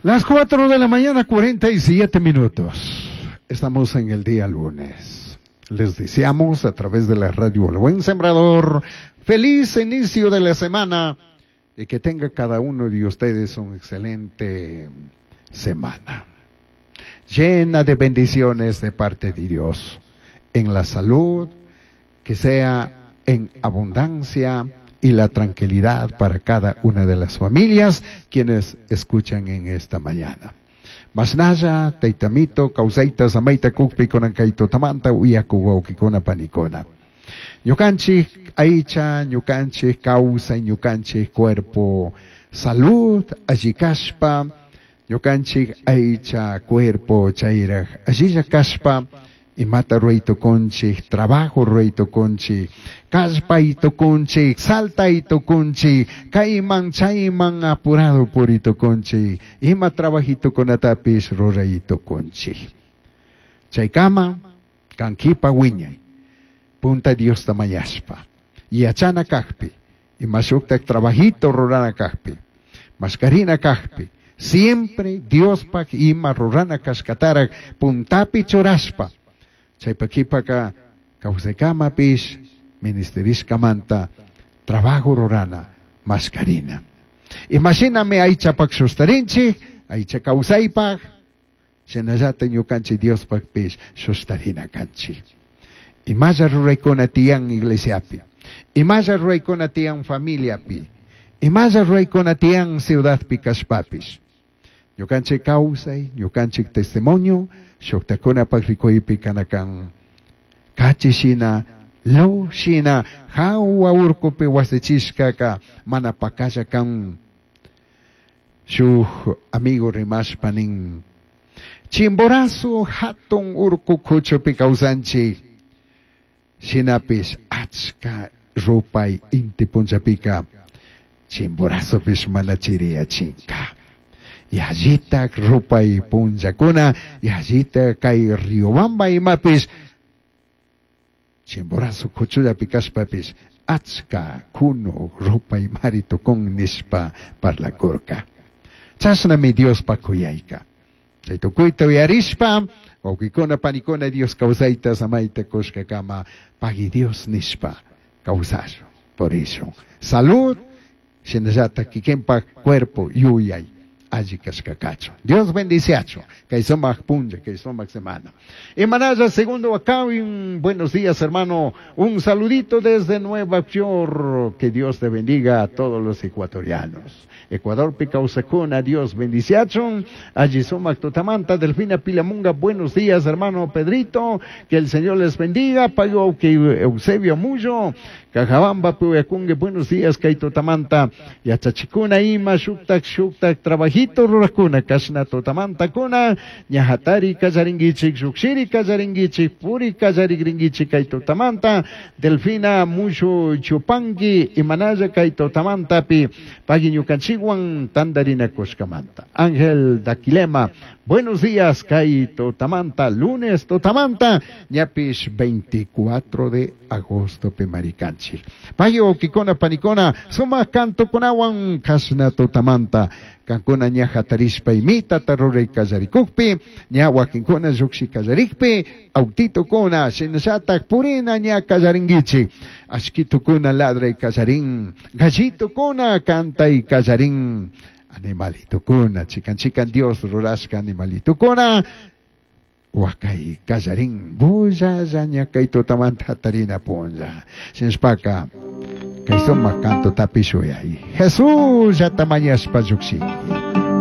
Las 4 de la mañana, 47 minutos. Estamos en el día lunes. Les deseamos a través de la radio El Buen Sembrador feliz inicio de la semana y que tenga cada uno de ustedes una excelente semana, llena de bendiciones de parte de Dios, en la salud, que sea en abundancia y la tranquilidad para cada una de las familias quienes escuchan en esta mañana. Masnalla, taitamito, causaita, samaita, kukpi, konankaito, tamanta, uyaku, wawkikuna, panikuna. Ñukanchik aycha, ñukanchik kawsay, ñukanchik cuerpo, salud, alli kashpa, ñukanchik aycha, cuerpo, chayraj, allilla kashpa, imata ruray tukunchik, trabajo ruray tukunchik, kallpay tukunchik, saltay tukunchik, kayman chayman apurado puri tukunchik, ima trabajitukunatapish ruray tukunchik. Chaykama, kankipa wiñay, punta Diosta mañashpa, yachana kajpi, ima shuktak trabajito rurana kajpi, maskarina kajpi, siempre Diospaj ima rurana kashkatarak puntapi churashpa, chaypa kipaka kawsaykamapish ministerishkamanta trabajo rurana maskarina. Imashinami aychapak shustarinchik, aycha kawsaypaj, shinallata ñukanchik Diospajpish shustarina kanchik. Imalla ruraykuna tiyan iglesiapi, imalla ruraykuna tiyan familiapi, imalla ruraykuna tiyan ciudadpi kashpapish. Ñukanchik kawsay, ñukanchik testimonio, shuktakunapak rikuypi kanakan kachi shina, luz shina, hawa urkupi wasichishkaka mana pakalla kan. Shuk amigo rimashpa nin, Chimborazo hatun urku kuchupi kawsanchik, shinapish achka rupay inti punllapika Chimborazopish mana chiriyachinka. Yallitak rupay punllakuna, yallita kay Riobamba imapish, Chimborazo kuchullapi kashpapish achka kunu rupay mari tukun nishpa parlakurka. Chashnami Diospa kuyayka. Chay tukuyta uyarishpa, wawqikuna panikuna Dios kawsayta samayta kushkakama pagui Dios nishpa kawsashun. Por eso, salud, shinallata kikinpak cuerpo yuyay alli kashkakachu. Dios bendiciachu. Kay sumak punlla, kay sumak semana. Imanaya segundo acá, un buenos días hermano, un saludito desde Nueva York. Que Dios te bendiga a todos los ecuatorianos. Ecuador Picausacuna, Dios bendiciachu. Allí sumak tutamanta, Delfina Pilamunga, buenos días hermano Pedrito, que el Señor les bendiga. Pago que Eusebio Muyo, Cajabamba, Puyakungue, buenos días, Kaito Tamanta, Yachachikuna, Ima, Shuktak, Shuktak, Trabajito, Rurakuna, Kashna, Totamanta, Kuna, Ñahatari, Kallaringuichik, Shukshiri, Kallaringuichik, Puri, Kallarigringuichik, Kaito Tamanta, Delfina, Mushu, Chupanqui, Imanaya, Kaito Tamanta, Pi, Paguiñucanchiguan, Tandarina, Coscamanta. Ángel Daquilema, buenos días, Kaito Tamanta, lunes Totamanta, ñapish 24 de agosto, Pimaricanchi. Payo, Kikona, Panicona, Suma, Canto, Kunawan, Kasna, Totamanta, Cancuna, ñaja, Tarishpa, Imita, Tarure, Kallarikukpi, ña, Wakinkuna, Yuxi, Kallarikpi, Autito, Kuna, Shinashata, Purina, ña, Kallaringuichi, Ashquito, Kuna, Ladra y Kallarín, Gallito, Kuna, Canta y Kallarín, Animalito, Kuna, Chican, Chican, Dios, Rurashka, Animalito, Kuna, Huacay, Kallarín, Bulla, Yaña, Kaito, Tamanta, Tarina, Punja, Shinspaka, Kaisoma, Canto, Tapishuyay. Jesús, ya tamañas, Payuxi.